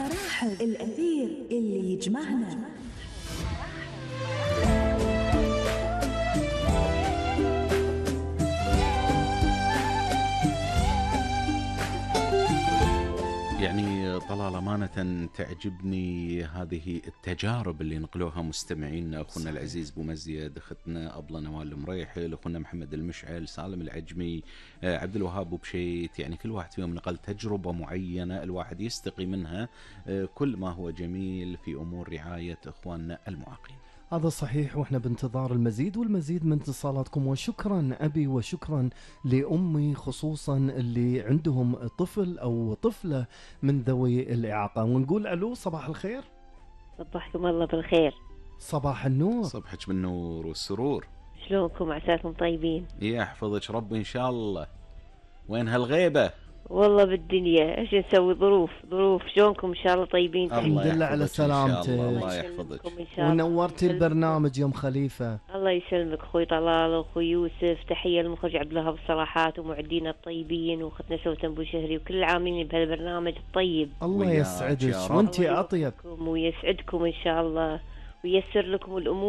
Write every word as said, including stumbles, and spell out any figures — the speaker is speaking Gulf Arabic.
نرحب الأثير اللي يجمعنا. يعني طلال أمانة تعجبني هذه التجارب اللي نقلوها مستمعينا، أخونا العزيز بومزيد، أختنا أبلة نوال المريحل، أخونا محمد المشعل، سالم العجمي، عبد الوهاب بشيت. يعني كل واحد فيهم نقل تجربة معينة الواحد يستقي منها كل ما هو جميل في أمور رعاية إخواننا المعاقين. هذا صحيح، وإحنا بانتظار المزيد والمزيد من اتصالاتكم. وشكرا أبي وشكرا لأمي خصوصا اللي عندهم طفل أو طفلة من ذوي الإعاقة. ونقول ألو، صباح الخير. صباحكم الله بالخير. صباح النور. صبحك بالنور والسرور. شلونكم؟ عساكم طيبين؟ يحفظك ربي إن شاء الله. وين هالغيبة؟ والله بالدنيا، ايش نسوي؟ ظروف ظروف. شلونكم؟ ان شاء الله طيبين؟ الحمد لله على سلامتك. الله يحفظك ونورتي البرنامج يوم خليفة. الله يسلمك اخوي طلال واخوي يوسف. تحية للمخرج عبد الوهاب الصراحات ومعدينا الطيبين واختنا سوسن ابو شهري وكل العاملين بهالبرنامج الطيب. الله يسعدك وانتي اطيب ويسعدكم ان شاء الله وييسر لكم الامور.